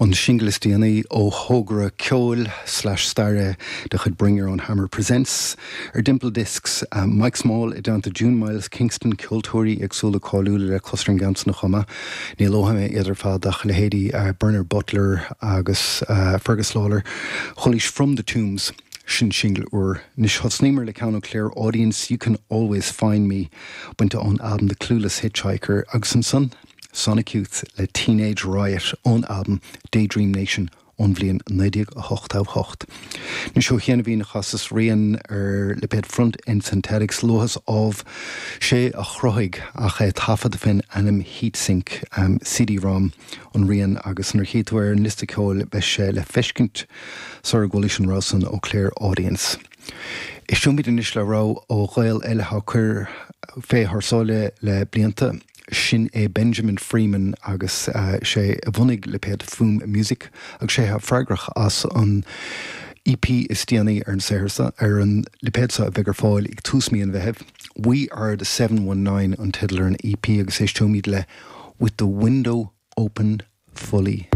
An singil is déanaí ó thogra ceoil slash staire de chuid Bring Your Own Hammer Presents ar Dimple Discs, Mike Small i dteannta June Miles Kingston, ceoltóirí éagsúla cáiliúla le clos ar an gceann san chomh maith. Ní luafaidh mé iad ar fad ach leithéidí Bernard Butler agus Fergus Lawlor. Chualaís From the Tombs, sin singil úr. Anois thosnaíomar le ceann ó Claire Audience, You Can Always Find Me, bainte ón albam The Clueless Hitchhiker agus ansan, Sonic Youth le Teenage Riot ón albam Daydream Nation ón bhliain 1988. Anois ó chianaibhín chasas rian ar lipéad Front End Synthetics, luathas ámh, sé a chruthaigh ach é taifeadta fén ainm Heatsink, CD-ROM an rian agus nuair a chífidh tú ar an liosta ceoil beidh sé le feiscint sara gcualaís an rogha san ó Claire Audience. Éisteoimid anois le rogha ó Ghael eile atá ag cur fé thar sáile le blianta. Sin é Benjamin Freeman agus sé a bhunaigh lipéad Foom Music agus sé atá freagrach as an EP is déanaí ar an saothar seo, ar an lipéad seo a bheidh ar fáil ag tús mí an Mheithimh. We Are The 719 an teideal ar an EP agus éisteoimid le With The Window Open Fully.